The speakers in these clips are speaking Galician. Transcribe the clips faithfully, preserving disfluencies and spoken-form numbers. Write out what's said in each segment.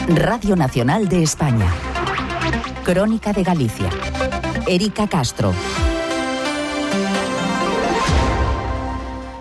Radio Nacional de España. Crónica de Galicia. Erika Castro.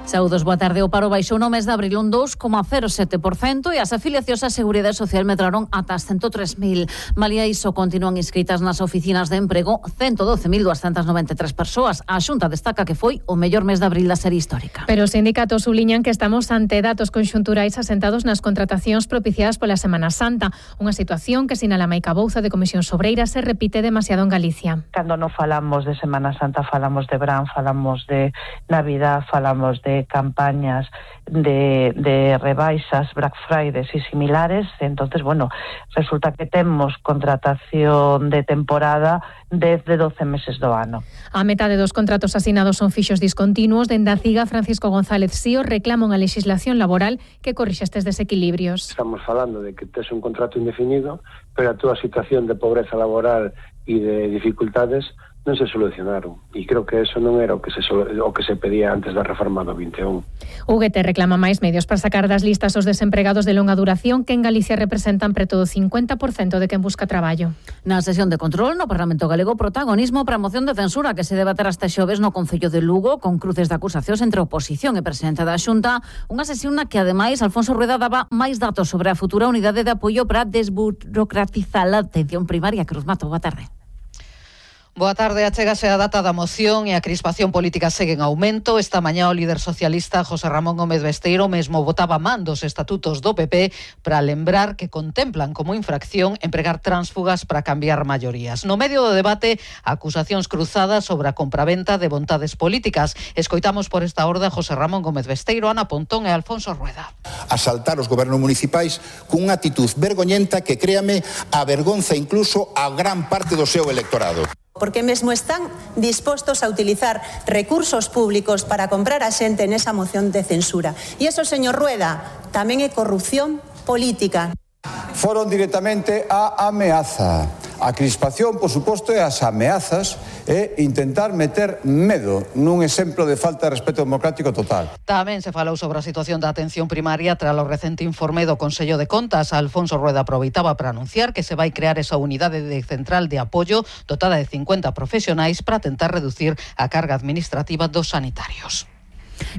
Saúdos, boa tarde. O paro baixou no mes de abril un dous coma cero sete por cento e as afiliacións á Seguridade Social medraron ata as ciento tres mil. Malia iso, continúan inscritas nas oficinas de emprego ciento doce mil duascentas noventa e tres persoas. A Xunta destaca que foi o mellor mes de abril da serie histórica. Pero os sindicatos subliñan que estamos ante datos conxunturais asentados nas contratacións propiciadas pola Semana Santa, unha situación que sinala Maica Bouza de Comisións Obreiras se repite demasiado en Galicia. Cando non falamos de Semana Santa, falamos de Brán, falamos de Navidad, falamos de campañas de, de rebaixas, Black Fridays e similares. Entonces, bueno, resulta que temos contratación de temporada desde doce meses do ano. A metade dos contratos asinados son fixos discontinuos. Dende a CIGA, Francisco González Sío reclama unha legislación laboral que corrixa estes desequilibrios. Estamos falando de que tes un contrato indefinido, pero a túa situación de pobreza laboral e de dificultades non se solucionaron, e creo que eso non era o que se o que se pedía antes da reforma do vinte e un. U G T reclama máis medios para sacar das listas os desempregados de longa duración que en Galicia representan preto do cincuenta por cento de quen busca traballo. Na sesión de control no Parlamento Galego, protagonismo para a moción de censura que se debaterá este xoves no Concello de Lugo, con cruces de acusacións entre oposición e presidente da Xunta, unha sesión na que ademais Alfonso Rueda daba máis datos sobre a futura unidade de apoio para desburocratizar a atención primaria. Cruz Mato, boa tarde. Boa tarde, achégase a data da moción e a crispación política segue en aumento. Esta mañá o líder socialista José Ramón Gómez Besteiro mesmo votaba man dos estatutos do P P para lembrar que contemplan como infracción empregar tránsfugas para cambiar maiorías. No medio do debate, acusacións cruzadas sobre a compraventa de vontades políticas. Escoitamos por esta orde a José Ramón Gómez Besteiro, Ana Pontón e Alfonso Rueda. Asaltar os gobernos municipais cunha actitud vergoñenta que, créame, avergonza incluso a gran parte do seu electorado. Porque mesmo están dispostos a utilizar recursos públicos para comprar a xente nesa moción de censura. E iso, señor Rueda, tamén é corrupción política. Foron directamente a ameaza. A crispación, por suposto, e as ameazas é intentar meter medo nun exemplo de falta de respeto democrático total. Tamén se falou sobre a situación da atención primaria tras o recente informe do Consello de Contas. Alfonso Rueda aproveitaba para anunciar que se vai crear esa unidade de central de apoio dotada de cincuenta profesionais para tentar reducir a carga administrativa dos sanitarios.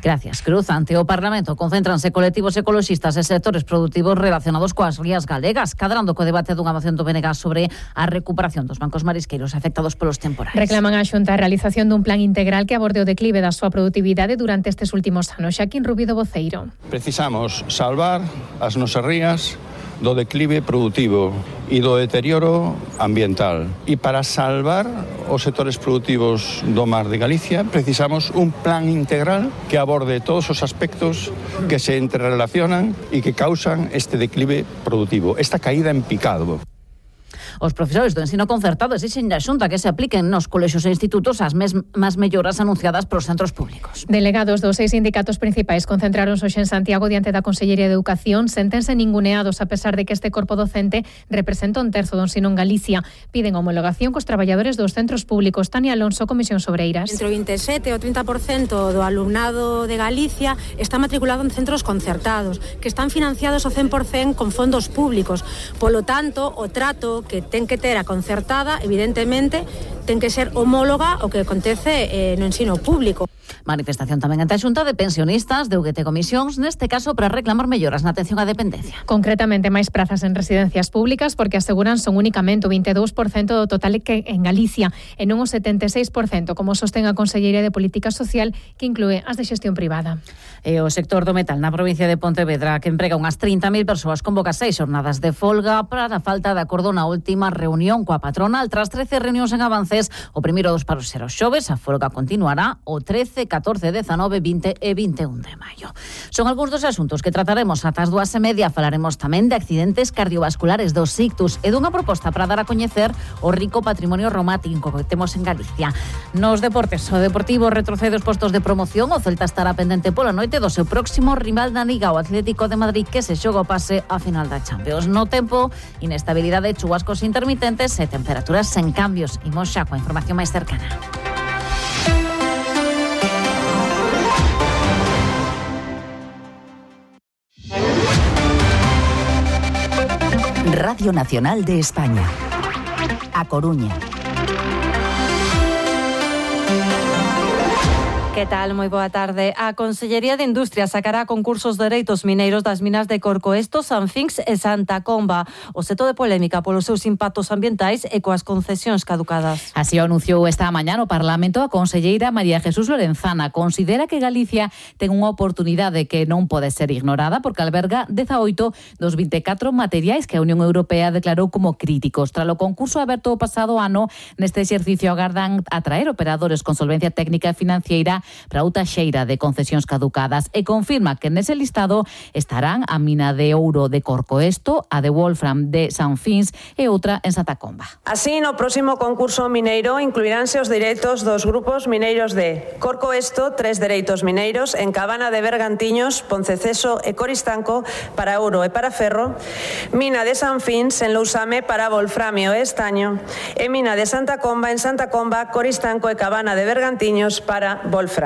Gracias, Cruz. Ante o Parlamento concéntranse colectivos ecoloxistas e sectores produtivos relacionados coas rías galegas, cadrando co debate dunha moción do B N G sobre a recuperación dos bancos marisqueiros afectados polos temporais. Reclaman a Xunta a realización dun plan integral que aborde o declive da súa produtividade durante estes últimos anos. Xaquín Rubido Voceiro. Precisamos salvar as nosas rías do declive produtivo e do deterioro ambiental. E para salvar os sectores produtivos do mar de Galicia precisamos un plan integral que aborde todos os aspectos que se entrerelacionan e que causan este declive productivo, esta caída en picado. Os profesores do ensino concertado exixen da Xunta que se apliquen nos colexios e institutos as mesmas melloras anunciadas polos centros públicos. Delegados dos seis sindicatos principais concentraron hoxe en Santiago diante da Consellería de Educación. Séntense ninguneados a pesar de que este corpo docente representa un terzo do ensino en Galicia. Piden homologación cos traballadores dos centros públicos. Tania Alonso, Comisión Obreiras. Entre o vinte e sete e o trinta por cento do alumnado de Galicia está matriculado en centros concertados, que están financiados ao cen por cento con fondos públicos. Polo tanto, o trato que ten que ter a concertada, evidentemente, ten que ser homóloga ao que acontece eh, no ensino público. Manifestación tamén ante a Xunta de Pensionistas de U G T Comisións, neste caso para reclamar melloras na atención á dependencia. Concretamente, máis prazas en residencias públicas, porque aseguran son únicamente o vinte e dous por cento do total que en Galicia, e non o setenta e seis por cento, como sostén a Consellería de Política Social, que inclúe as de xestión privada. E o sector do metal na provincia de Pontevedra, que emprega unhas trinta mil persoas, convoca seis xornadas de folga para a falta de acordo na última reunión coa patronal. Tras trece reunións en avances, o primeiro dos paros será o xoves, a folga continuará o trece, catorce, dezanove, vinte e vinte e un de maio. Son algúns dos asuntos que trataremos ata as dúas e media. Falaremos tamén de accidentes cardiovasculares, dos ictus e dunha proposta para dar a coñecer o rico patrimonio romático que temos en Galicia. Nos deportes, o Deportivo retrocede os postos de promoción. O Celta estará pendente pola noite do seu próximo rival da Liga, o Atlético de Madrid, que se xoga o pase a final da Champions. No tempo, inestabilidade, chubascos intermitentes e temperaturas sen cambios. Imos xa coa información máis cercana. Radio Nacional de España. A Coruña. Que tal? Moi boa tarde. A Consellería de Industria sacará concursos de dereitos mineiros das minas de Corcoesto, Sanfinx e Santa Comba. O seto de polémica polos seus impactos ambientais e coas concesións caducadas. Así o anunciou esta mañá no Parlamento a conselleira María Jesús Lorenzana. Considera que Galicia ten unha oportunidade que non pode ser ignorada porque alberga dezaoito dos vinte e catro materiais que a Unión Europea declarou como críticos. Tras o concurso aberto o pasado ano, neste exercicio agardan atraer operadores con solvencia técnica e financiera para outra xeira de concesións caducadas e confirma que nese listado estarán a mina de ouro de Corcoesto, a de Wolfram de Sanfinx e outra en Santa Comba. Así, no próximo concurso mineiro incluiránse os dereitos dos grupos mineiros de Corcoesto, tres dereitos mineiros, en Cabana de Bergantiños, Ponceceso e Coristanco para ouro e para ferro, mina de Sanfinx en Lousame para wolframio e estaño e mina de Santa Comba en Santa Comba, Coristanco e Cabana de Bergantiños para wolframio.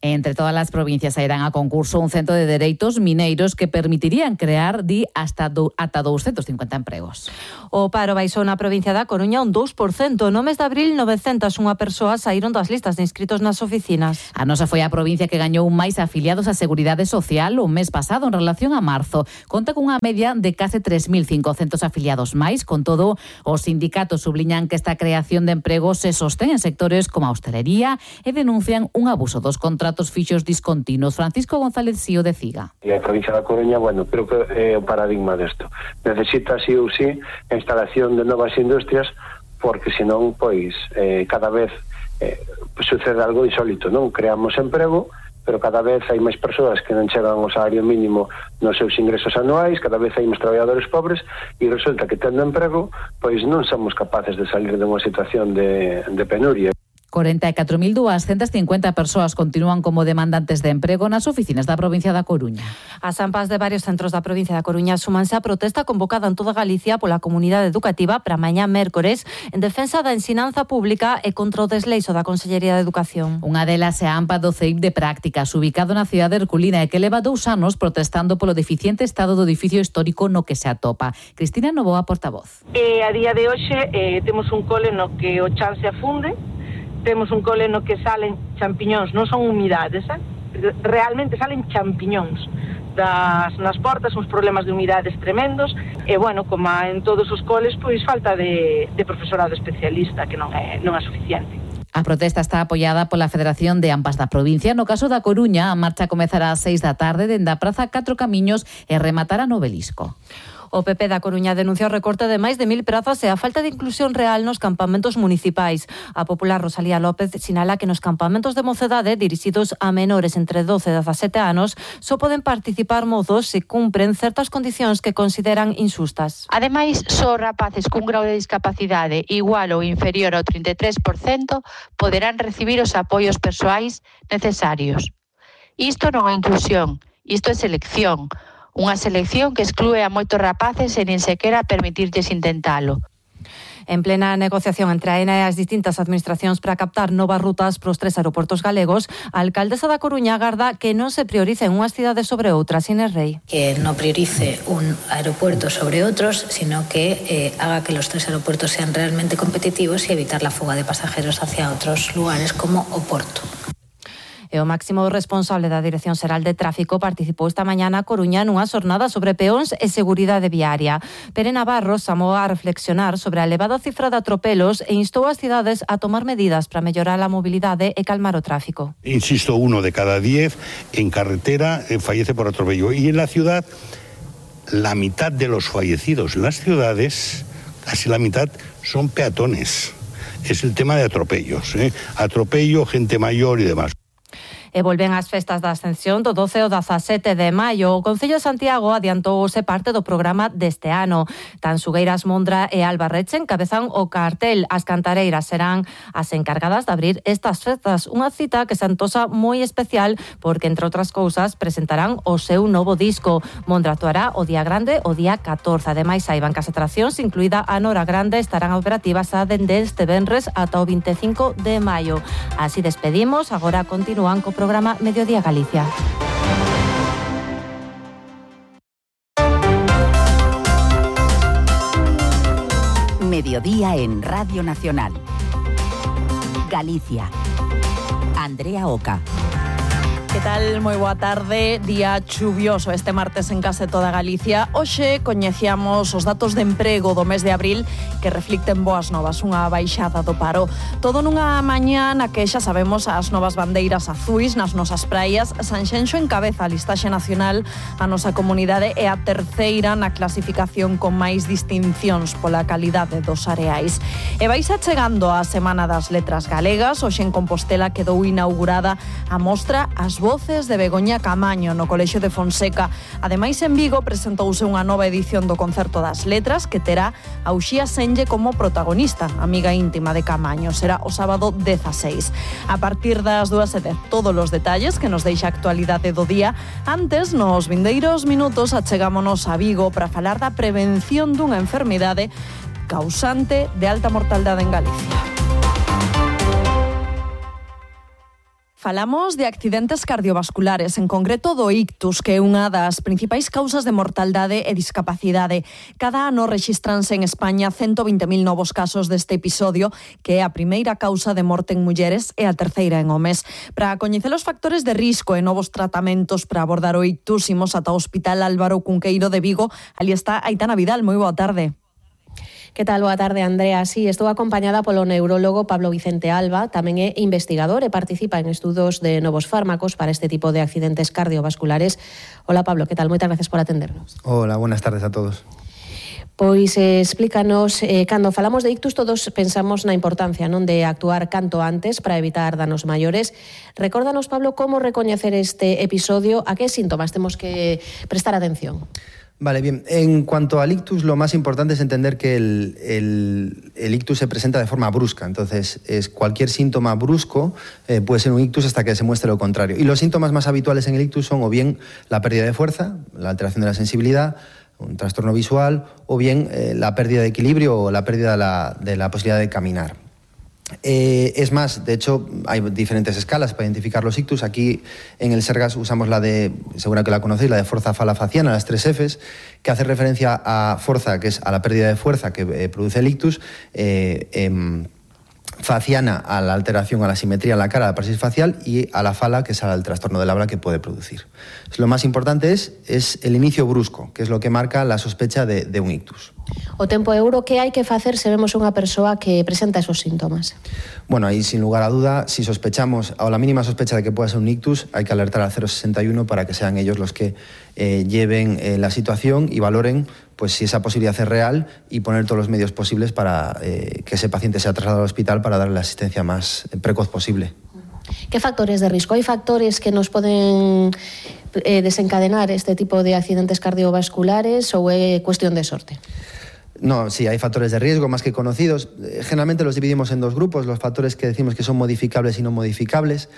Entre todas as provincias sairán a concurso un centro de dereitos mineiros que permitirían crear, di, hasta do, ata doscientos cincuenta empregos. O paro baixou na provincia da Coruña un dous por cento. No mes de abril, novecentas e unha persoas saíron das listas de inscritos nas oficinas. A nosa foi a provincia que gañou máis afiliados á Seguridade Social o mes pasado en relación a marzo. Conta cunha media de case tres mil cincocentos afiliados máis. Con todo, os sindicatos subliñan que esta creación de empregos se sostén en sectores como a hostelería e denuncian un abuso dos contratos fixos discontinuos. Francisco González Sío de Ciga. E a provincia da Coruña, bueno, creo que é o paradigma desto. Necesita sí ou sí a instalación de novas industrias porque senón, pois, eh, cada vez eh, sucede algo insólito, non? Creamos emprego, pero cada vez hai máis persoas que non chegan ao salario mínimo nos seus ingresos anuais, cada vez hai máis traballadores pobres e resulta que tendo emprego, pois non somos capaces de salir de unha situación de, de penuria. cuarenta e catro mil doscientas cincuenta persoas continúan como demandantes de emprego nas oficinas da provincia da Coruña. As AMPAs de varios centros da provincia da Coruña súmanse á protesta convocada en toda Galicia pola comunidade educativa para mañá mércores en defensa da ensinanza pública e contra o desleixo da Consellería de Educación. Unha delas é a AMPA do C E I P de Prácticas, ubicado na cidade de Herculina e que leva dous anos protestando polo deficiente estado do edificio histórico no que se atopa. Cristina Novoa, portavoz. E a día de hoxe eh, temos un cole no que o chan se afunde, temos un cole no que salen champiñóns, non son humidades, eh? Realmente salen champiñóns das, nas portas, uns problemas de humidades tremendos e, bueno, como en todos os coles, pois falta de, de profesorado especialista que non é, non é suficiente. A protesta está apoiada pola Federación de AMPAs da provincia. No caso da Coruña, a marcha comezará ás seis da tarde dende a Praza Catro Camiños e rematará no Obelisco. O P P da Coruña denuncia o recorte de máis de mil prazas e a falta de inclusión real nos campamentos municipais. A popular Rosalía López sinala que nos campamentos de mocedade dirixidos a menores entre doce e dezasete anos só poden participar mozos se cumpren certas condicións que consideran insustas. Ademais, só rapaces cun grau de discapacidade igual ou inferior ao trinta e tres por cento poderán recibir os apoios persoais necesarios. Isto non é inclusión, isto é selección. Unha selección que exclúe a moitos rapaces e nin sequera permitirlles intentalo. En plena negociación entre a AENA e as distintas administracións para captar novas rutas para os tres aeroportos galegos, a alcaldesa da Coruña agarda que non se prioricen unhas cidades sobre outras, Inés Rei. Que non priorice un aeropuerto sobre outros, sino que eh, haga que los tres aeropuertos sean realmente competitivos y evitar la fuga de pasajeros hacia otros lugares como o Porto. E o máximo responsable da Dirección Xeral de Tráfico participou esta mañá na Coruña nunha xornada sobre peóns e seguridade viaria. Pere Navarro chamou a reflexionar sobre a elevada cifra de atropelos e instou as cidades a tomar medidas para mellorar a mobilidade e calmar o tráfico. Insisto, uno de cada diez en carretera eh, fallece por atropello. Y en la ciudad, la mitad de los fallecidos en las ciudades, casi la mitad, son peatones. Es el tema de atropellos, ¿eh? Atropello, gente mayor y demás. E volven as festas da Ascensión do doce ao dezasete de maio. O Concello de Santiago adiantouse parte do programa deste ano. Tan Sugueiras, Mondra e Albarreche encabezan o cartel. As cantareiras serán as encargadas de abrir estas festas. Unha cita que se antosa moi especial porque, entre outras cousas, presentarán o seu novo disco. Mondra actuará o día grande o día catorce. Ademais, saiban que as atraccións, incluída a Nora Grande, estarán operativas a dende este venres ata o vinte e cinco de maio. Así despedimos. Agora continúan co programa Mediodía Galicia. mediodía en Radio Nacional. Galicia. Andrea Oca. Que tal? Moi boa tarde. Día chuvioso este martes en case toda Galicia. Hoxe coñecíamos os datos de emprego do mes de abril que reflicten boas novas, unha baixada do paro. Todo nunha mañá na que xa sabemos as novas bandeiras azuis nas nosas praias. Sanxenxo encabeza a listaxe nacional, a nosa comunidade é a terceira na clasificación con máis distincións pola calidade dos areais. E vais chegando a Semana das Letras Galegas. Hoxe en Compostela quedou inaugurada a mostra As Voces de Begoña Camaño no Colexio de Fonseca. Ademais, en Vigo presentouse unha nova edición do Concerto das Letras que terá a Uxía Senlle como protagonista, amiga íntima de Camaño. Será o sábado dezaseis. A partir das dúas e dez, todos os detalles que nos deixa a actualidade do día. Antes, nos vindeiros minutos, achegámonos a Vigo para falar da prevención dunha enfermidade causante de alta mortalidade en Galicia. Falamos de accidentes cardiovasculares, en concreto do ictus, que é unha das principais causas de mortalidade e discapacidade. Cada ano rexistranse en España ciento vinte mil novos casos deste episodio, que é a primeira causa de morte en mulleres e a terceira en homes. Para coñecer os factores de risco e novos tratamentos para abordar o ictus, imos ata o Hospital Álvaro Cunqueiro de Vigo. Ali está Aitana Vidal. Moi boa tarde. Que tal? Boa tarde, Andrea. Sí, estou acompañada polo neurólogo Pablo Vicente Alba, tamén é investigador e participa en estudos de novos fármacos para este tipo de accidentes cardiovasculares. Hola, Pablo, que tal? Moitas gracias por atendernos. Hola, buenas tardes a todos. Pois eh, explícanos, eh, cando falamos de ictus todos pensamos na importancia non de actuar canto antes para evitar danos maiores. Recórdanos, Pablo, como recoñecer este episodio, a que síntomas temos que prestar atención. Vale, bien. En cuanto al ictus, lo más importante es entender que el, el, el ictus se presenta de forma brusca. Entonces, es cualquier síntoma brusco eh, puede ser un ictus hasta que se muestre lo contrario. Y los síntomas más habituales en el ictus son o bien la pérdida de fuerza, la alteración de la sensibilidad, un trastorno visual, o bien eh, la pérdida de equilibrio o la pérdida de la, de la posibilidad de caminar. Eh, es más, de hecho, hay diferentes escalas para identificar los ictus. Aquí en el Sergas usamos la de, seguro que la conocéis, la de fuerza falafaciana, las tres Fs, que hace referencia a fuerza, que es a la pérdida de fuerza que eh, produce el ictus, eh, eh, faciana a la alteración, a la simetría en la cara, a la parálisis facial, y a la fala, que es al trastorno del habla que puede producir. Lo más importante es, es el inicio brusco, que es lo que marca la sospecha de, de un ictus. O tempo euro, que hai que facer se vemos unha persoa que presenta esos síntomas? Bueno, ahí sin lugar a duda, si sospechamos, o la mínima sospecha de que pueda ser un ictus, hay que alertar al cero sesenta y uno para que sean ellos los que eh, lleven eh, la situación y valoren pues si esa posibilidad es real y poner todos los medios posibles para eh, que ese paciente sea trasladado al hospital para darle la asistencia más precoz posible. ¿Qué factores de riesgo? ¿Hay factores que nos pueden eh, desencadenar este tipo de accidentes cardiovasculares o es cuestión de sorte? No, sí, hay factores de riesgo más que conocidos. Generalmente los dividimos en dos grupos, los factores que decimos que son modificables y no modificables.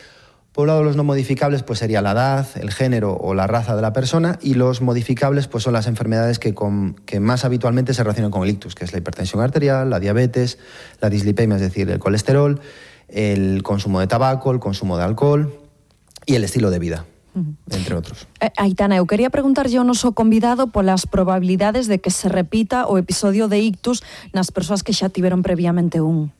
Por un lado, los no modificables pues sería la edad, el género o la raza de la persona, y los modificables pues son las enfermedades que, con, que más habitualmente se relacionan con el ictus, que es la hipertensión arterial, la diabetes, la dislipemia, es decir, el colesterol, el consumo de tabaco, el consumo de alcohol y el estilo de vida. Uh-huh. Entre outros. Eh, Aitana, eu quería preguntarlle ao noso convidado polas probabilidades de que se repita o episodio de ictus nas persoas que xa tiveron previamente un.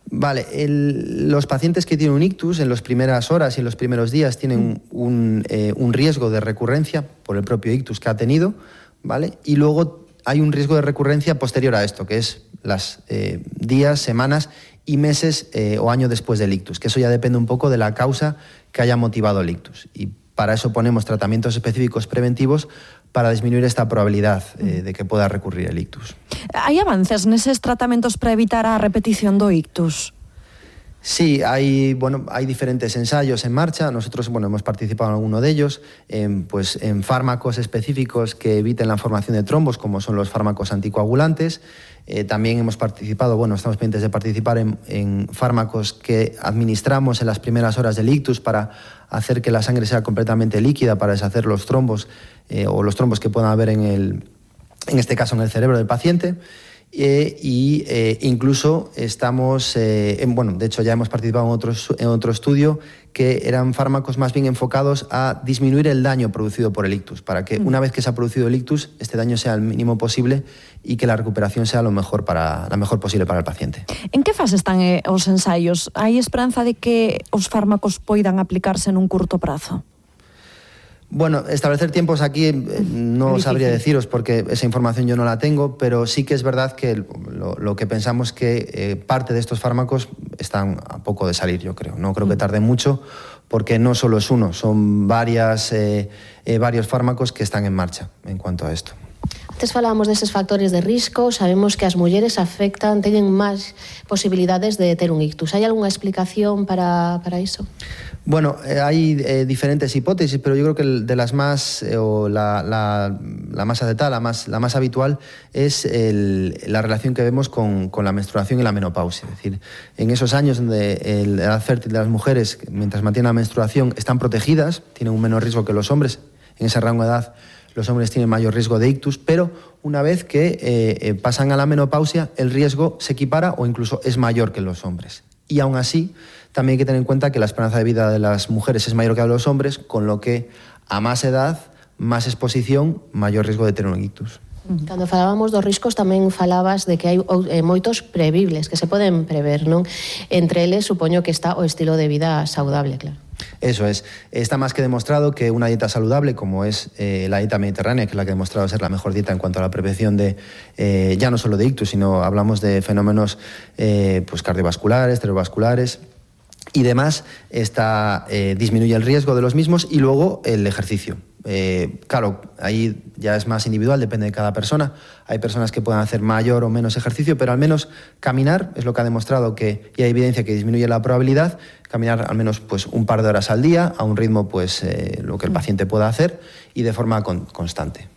Vale, el, los pacientes que tienen un ictus en las primeras horas y en los primeros días tienen mm. un, eh, un riesgo de recurrencia por el propio ictus que ha tenido, ¿vale? Y luego hay un riesgo de recurrencia posterior a esto, que es las eh, días, semanas y meses eh, o año después del ictus, que eso ya depende un poco de la causa que haya motivado el ictus. Y para eso ponemos tratamientos específicos preventivos para disminuir esta probabilidad eh, de que pueda recurrir el ictus. ¿Hay avances neses tratamentos para evitar a repetición do ictus? Sí, hay, bueno, hay diferentes ensayos en marcha. Nosotros bueno, hemos participado en alguno de ellos, en, pues, en fármacos específicos que eviten la formación de trombos, como son los fármacos anticoagulantes. Eh, también hemos participado, bueno, estamos pendientes de participar en, en fármacos que administramos en las primeras horas del ictus para hacer que la sangre sea completamente líquida, para deshacer los trombos eh, o los trombos que puedan haber en, el, en este caso en el cerebro del paciente. Eh, y eh, incluso estamos, eh, en, bueno, de hecho ya hemos participado en otro, en otro estudio que eran fármacos más bien enfocados a disminuir el daño producido por el ictus, para que una vez que se ha producido el ictus, este daño sea el mínimo posible y que la recuperación sea lo mejor para, la mejor posible para el paciente. En que fase están eh, os ensaios? Hai esperanza de que os fármacos poidan aplicarse nun curto prazo? Bueno, establecer tiempos aquí eh, no sabría deciros porque esa información yo no la tengo, pero sí que es verdad que lo, lo que pensamos que eh, parte de estos fármacos están a poco de salir, yo creo. No creo que tarde mucho porque no solo es uno, son varias, eh, eh, varios fármacos que están en marcha en cuanto a esto. Antes falábamos deses factores de risco, sabemos que as mulleres afectan, teñen máis posibilidades de ter un ictus. Hai algunha explicación para, para iso? Bueno, eh, hay eh, diferentes hipótesis, pero yo creo que de las más, eh, o la, la, la más acertada, la más, la más habitual, es el, la relación que vemos con, con la menstruación y la menopausia. Es decir, en esos años donde el, la edad fértil de las mujeres, mientras mantienen la menstruación, están protegidas, tienen un menor riesgo que los hombres, en ese rango de edad los hombres tienen mayor riesgo de ictus, pero una vez que eh, eh, pasan a la menopausia, el riesgo se equipara o incluso es mayor que los hombres. Y aún así, también hay que tener en cuenta que la esperanza de vida de las mujeres es mayor que la de los hombres, con lo que a más edad, más exposición, mayor riesgo de tener un ictus. Cando falábamos dos riscos tamén falabas de que hai eh, moitos previbles que se poden prever, non? Entre eles supoño que está o estilo de vida saudable, claro. Eso es. Está más que demostrado que una dieta saludable, como es eh, la dieta mediterránea, que es la que ha demostrado ser la mejor dieta en cuanto a la prevención de, eh, ya no solo de ictus, sino hablamos de fenómenos eh, pues cardiovasculares, cerebrovasculares y demás, está, eh, disminuye el riesgo de los mismos, y luego el ejercicio. Eh, claro, ahí ya es más individual, depende de cada persona. Hay personas que pueden hacer mayor o menos ejercicio, pero al menos caminar es lo que ha demostrado que, y hay evidencia que disminuye la probabilidad, caminar al menos pues un par de horas al día, a un ritmo pues eh, lo que el paciente pueda hacer y de forma con, constante.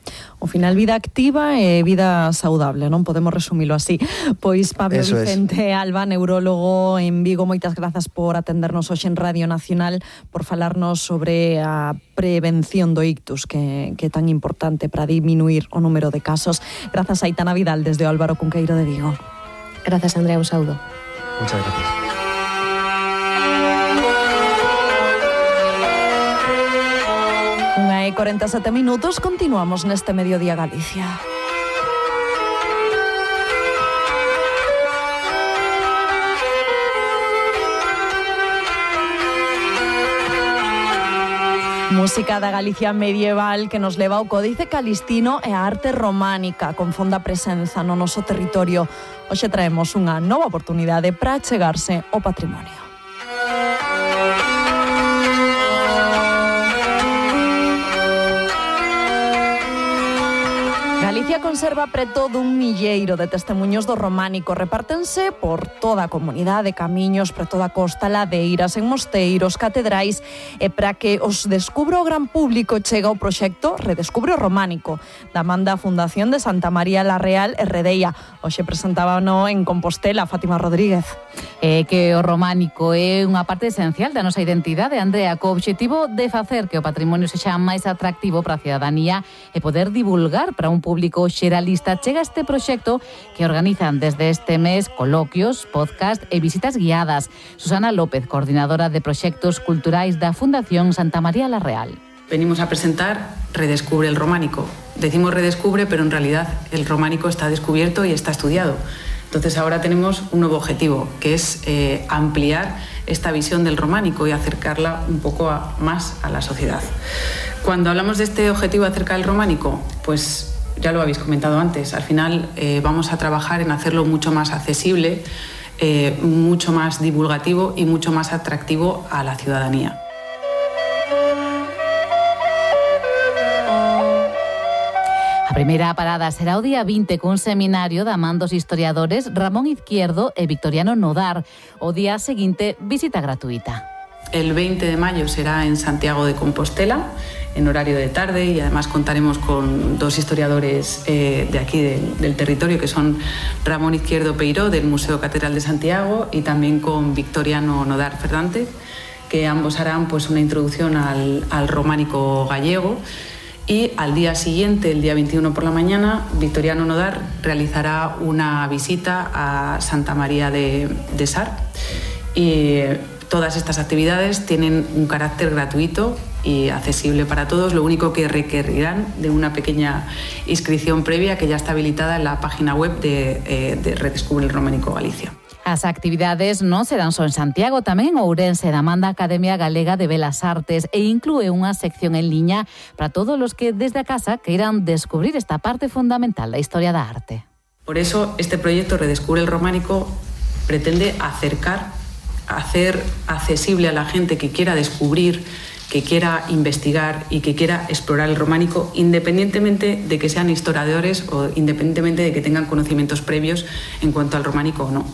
Ao final, vida activa e vida saudable, non podemos resumilo así. Pois Pablo Eso Vicente es. Alba, neurólogo en Vigo, moitas grazas por atendernos hoxe en Radio Nacional, por falarnos sobre a prevención do ictus, que, que é tan importante para disminuir o número de casos. Grazas a Aitana Vidal desde o Álvaro Cunqueiro de Vigo. Grazas, Andrea, un saúdo. Muchas gracias. Unha e corenta e sete minutos, continuamos neste Mediodía Galicia. Música da Galicia medieval que nos leva ao códice calistino e a arte románica con fonda presenza no noso territorio. Hoxe traemos unha nova oportunidade para achegarse ao patrimonio. Galicia conserva preto dun milleiro de testemuños do románico. Repártense por toda a comunidade, camiños, preto da costa, ladeiras, en mosteiros, catedrais, e para que os descubra o gran público chega o proxecto Redescubre o Románico, da man da Fundación de Santa María la Real e Redeia. Hoxe presentábano en Compostela Fátima Rodríguez. É que o románico é unha parte esencial da nosa identidade, Andrea, co obxectivo de facer que o patrimonio sexa máis atractivo para a cidadanía e poder divulgar para un público xeralista. Chega este proxecto que organizan desde este mes coloquios, podcast e visitas guiadas. Susana López, coordinadora de proxectos culturais da Fundación Santa María la Real. Venimos a presentar Redescubre el Románico. Decimos redescubre, pero en realidad el románico está descubierto y está estudiado. Entonces ahora tenemos un nuevo objetivo, que es eh, ampliar esta visión del románico y acercarla un poco a, más a la sociedad. Cuando hablamos de este objetivo acerca del románico, pues ya lo habéis comentado antes, al final eh, vamos a trabajar en hacerlo mucho más accesible, eh, mucho más divulgativo y mucho más atractivo a la ciudadanía. A primeira parada será o día vinte cun seminario da man dos historiadores Ramón Izquierdo e Victoriano Nodar. O día seguinte, visita gratuita. El veinte de mayo será en Santiago de Compostela, en horario de tarde, y además contaremos con dos historiadores eh, de aquí del, del territorio, que son Ramón Izquierdo Peiró, del Museo Catedral de Santiago, y también con Victoriano Nodar Fernández, que ambos harán pues una introducción al, al románico gallego. y al día siguiente, el día veintiuno por la mañana, Victoriano Nodar realizará una visita a Santa María de, de Sar. Y todas estas actividades tienen un carácter gratuito y accesible para todos. Lo único que requerirán de una pequeña inscripción previa que ya está habilitada en la página web de, eh, de Redescubre el Románico Galicia. As actividades non serán só en Santiago, tamén en Ourense, da man da Academia Galega de Belas Artes, e inclúe unha sección en liña para todos os que desde a casa queiran descubrir esta parte fundamental da historia da arte. Por eso, este proyecto Redescubre el Románico pretende acercar, hacer accesible a la gente que quiera descubrir, que quiera investigar y que quiera explorar el románico, independientemente de que sean historiadores o independientemente de que tengan conocimientos previos en cuanto al románico o no.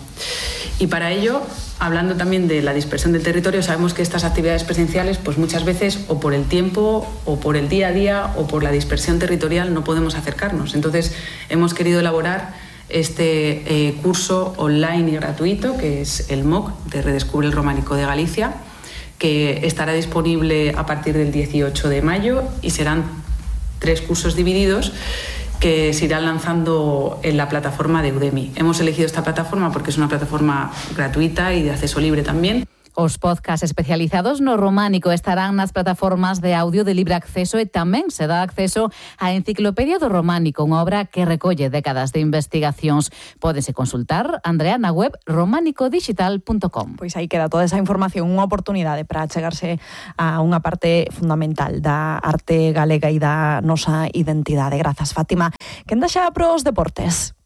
Y para ello, hablando también de la dispersión del territorio, sabemos que estas actividades presenciales, pues muchas veces o por el tiempo o por el día a día o por la dispersión territorial no podemos acercarnos. Entonces hemos querido elaborar este eh, curso online y gratuito, que es el M O C de Redescubre el Románico de Galicia, que estará disponible a partir del dieciocho de mayo y serán tres cursos divididos que se irán lanzando en la plataforma de Udemy. Hemos elegido esta plataforma porque es una plataforma gratuita y de acceso libre también. Os podcasts especializados no románico estarán nas plataformas de audio de libre acceso e tamén se dá acceso á Enciclopedia do Románico, unha obra que recolle décadas de investigacións. Pódense consultar, Andrea, na web románico digital punto com. Pois aí queda toda esa información, unha oportunidade para chegarse a unha parte fundamental da arte galega e da nosa identidade. Grazas, Fátima. Quen deixa pros deportes?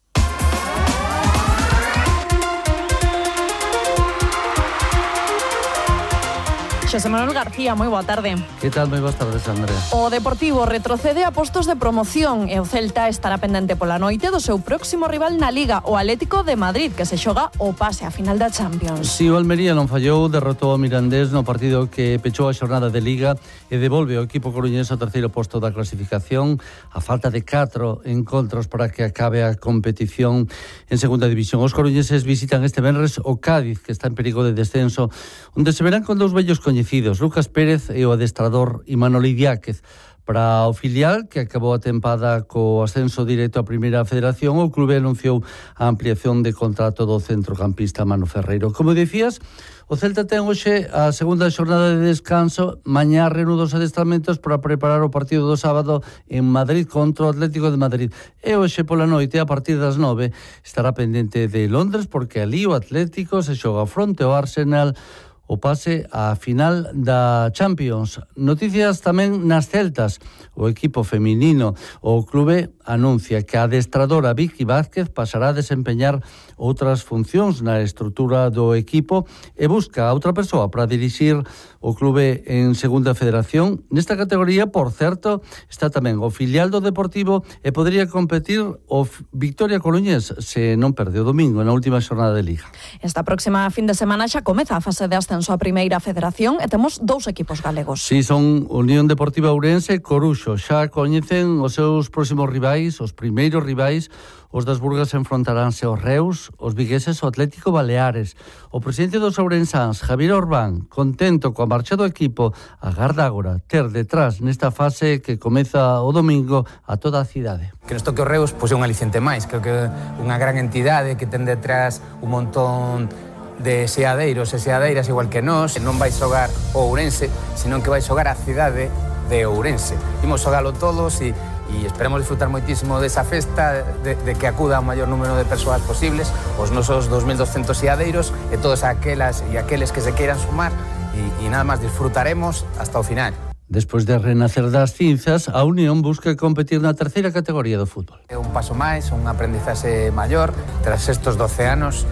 Xosé Manuel García, moi boa tarde. Que tal? Moi boas tardes, Andrea. O Deportivo retrocede a postos de promoción e o Celta estará pendente pola noite do seu próximo rival na Liga, o Atlético de Madrid, que se xoga o pase a final da Champions. Si o Almería non fallou, derrotou o Mirandés no partido que pechou a xornada de Liga e devolve o equipo coruñés ao terceiro posto da clasificación a falta de catro encontros para que acabe a competición en segunda división. Os coruñeses visitan este venres o Cádiz, que está en perigo de descenso, onde se verán con dous vellos coñecidos, Lucas Pérez e o adestrador Imanol Idiáquez. Para o filial, que acabou a tempada co ascenso directo á Primeira Federación, o clube anunciou a ampliación de contrato do centrocampista Manu Ferreiro. Como dicías, o Celta ten hoxe a segunda xornada de descanso, mañá reanuda os adestramentos para preparar o partido do sábado en Madrid contra o Atlético de Madrid. E hoxe pola noite, a partir das nove, estará pendente de Londres, porque ali o Atlético se xoga fronte ao Arsenal o pase á final da Champions. Noticias tamén nas Celtas. O equipo feminino, o clube anuncia que a adestradora Vicky Vázquez pasará a desempeñar outras funcións na estrutura do equipo e busca a outra persoa para dirixir o clube en segunda federación. Nesta categoría, por certo, está tamén o filial do Deportivo e podría competir o Victoria Coruñés se non perde o domingo na última xornada de Liga. Esta próxima fin de semana xa comeza a fase de ascenso a Primeira Federación e temos dous equipos galegos. Si, son Unión Deportiva Ourense e Coruxo. Xa coñecen os seus próximos rivais, os primeiros rivais. Os das Burgas enfrontaránse aos Reus, os vigueses ao Atlético Baleares. O presidente dos ourensáns, Javier Orbán, contento coa marcha do equipo, agarda agora ter detrás nesta fase que comeza o domingo a toda a cidade. Que nos toque o Reus, pois é un aliciente máis. Creo que unha gran entidade que ten detrás un montón de seadeiros e seadeiras igual que nós. Non vai xogar o Ourense, senón que vai xogar a cidade de Ourense. Imos xogalo todos e e esperamos disfrutar moitísimo desa festa, de, de que acuda o maior número de persoas posibles, os nosos dos mil doscientos seadeiros e todas aquelas e aqueles que se queiran sumar e, e nada máis disfrutaremos hasta o final. Despois de renacer das cinzas, a Unión busca competir na terceira categoría do fútbol. É un paso máis, un aprendizaxe maior tras estes doce anos.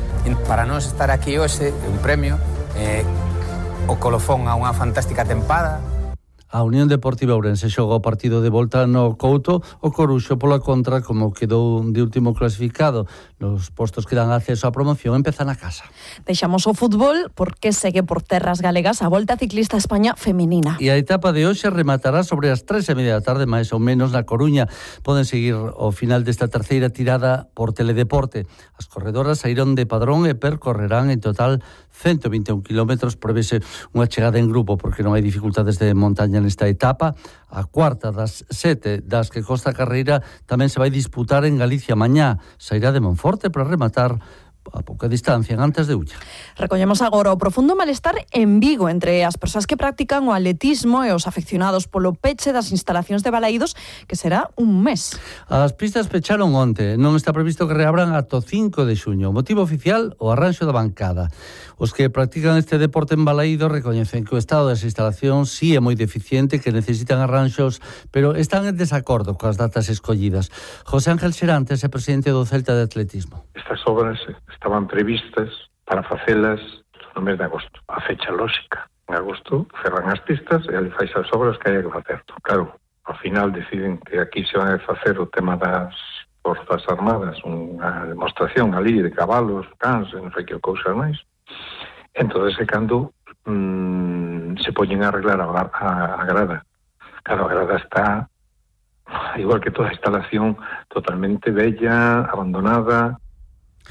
Para nós estar aquí hoxe é un premio, eh, o colofón a unha fantástica tempada. A Unión Deportiva Ourense xoga o partido de volta no Couto, o Coruxo pola contra, como quedou de último clasificado nos postos que dan acceso á promoción, empeza na casa. Deixamos o fútbol porque segue por terras galegas a Volta Ciclista a España feminina. E a etapa de hoxe rematará sobre as tres e media da tarde, máis ou menos, na Coruña. Poden seguir o final desta terceira tirada por Teledeporte. As corredoras saíron de Padrón e percorrerán en total ciento vinte e un kilómetros, prevese unha chegada en grupo porque non hai dificultades de montaña nesta etapa. A cuarta das sete das que consta a carreira tamén se vai disputar en Galicia mañá. Sairá de Monforte para rematar a pouca distancia, antes de Ulla. Recollemos agora o profundo malestar en Vigo entre as persoas que practican o atletismo e os afeccionados polo peche das instalacións de Balaídos, que será un mes. As pistas pecharon onte, non está previsto que reabran ata o cinco de xuño. O motivo oficial, o arranxo da bancada. Os que practican este deporte en Balaídos recoñecen que o estado das instalacións sí é moi deficiente, que necesitan arranxos, pero están en desacordo coas datas escollidas. José Ángel Serantes é presidente do Celta de Atletismo. Estas obras estaban previstas para facelas no mes de agosto. A fecha lóxica. En agosto cerran as pistas e ali fais as obras que hai que facer. Claro, ao final deciden que aquí se van a facer o tema das Forzas Armadas, unha demostración ali de cabalos, cans, non sei que cousas máis. Entón, é cando mmm, se poñen a arreglar a, a, a grada. Claro, a grada está, igual que toda a instalación, totalmente bella, abandonada.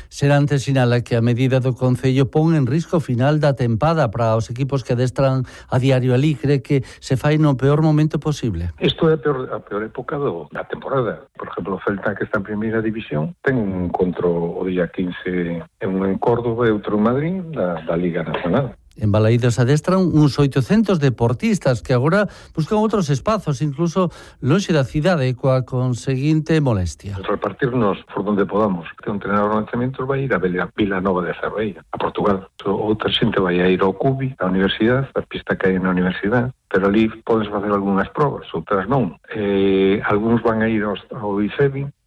Serantes sinala que a medida do Concello pon en risco o final da tempada para os equipos que adestran a diario ali. Cree que se fai no peor momento posible. Isto é a peor, a peor época do, da temporada. Por exemplo, o Celta, que está en primeira división, ten un encontro o día quince en un en Córdoba e outro en Madrid da, da Liga Nacional. En Balaídos adestran uns oitocentos deportistas que agora buscan outros espazos, incluso lonxe da cidade, coa conseguinte molestia. Repartirnos por donde podamos. Un entrenador de lanzamientos vai ir a Vila Nova de Cerveira, a Portugal. Outra xente vai a ir ao Cubi, a universidade, a pista que hai na universidade, pero ali podes facer algunhas probas, outras non. Eh, algúns van a ir ao, ao ICEBI,